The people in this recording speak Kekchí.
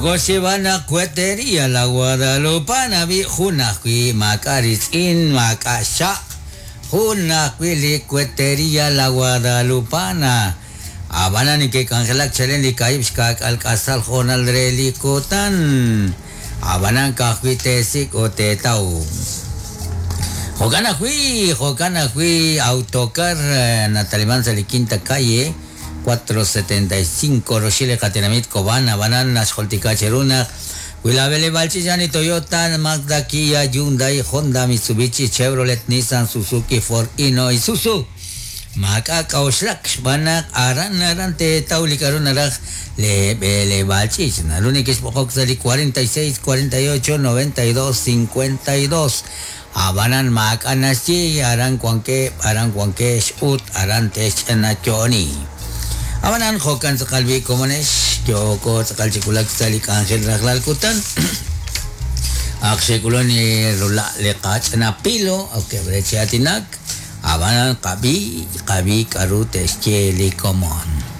Yoko xyeeb'al naq Cuetería La Guadalupana b'i' jun ajwi' maak'a' ritz'in maak'a' xchaq' jun ajwi' li Cuetería La Guadalupana. Ab'anan neke'k'anjelak chalen li kaahib' xkaak'al k'asal hoonal re li kutan. Ab'anan ka'ajwi' teesik' ut teetaw. Jo'kan ajwi', jo'kan ajwi' Autocar nataliman sa' li Quinta Calle 475 roxil li qatenamit Cobán, ab'anan naxjultika cheru naq wi laab'eleb'aal ch'iich' a'an li Toyota, Mazda, Kia, Hyundai, Honda, Mitsubishi, Chevrolet, Nissan, Suzuki, Ford, Hino, Isuzu. Maak'a' k'a'uxlak xb'aan naq aran aran teetaw li k'a'ru naraj lee b'eleb'aal ch'iich'. Naru nekexb'oqok sa' li 46 48 92 52. Ab'anan maak'a' naxye, aran wankeb', aran wankex ut aran texch'anayo'oni. Ab'anan jo'kan tz'aqal b'i' komonex, yooko tz'aqal chi wulak sa' li k'anjel rajlal kutan. Ak xe'k'ulun li rula' li qach'ina pilo, okeb' re chi aatinak, ab'anan qab'i, qab'i k'a'ru te'xye li komon.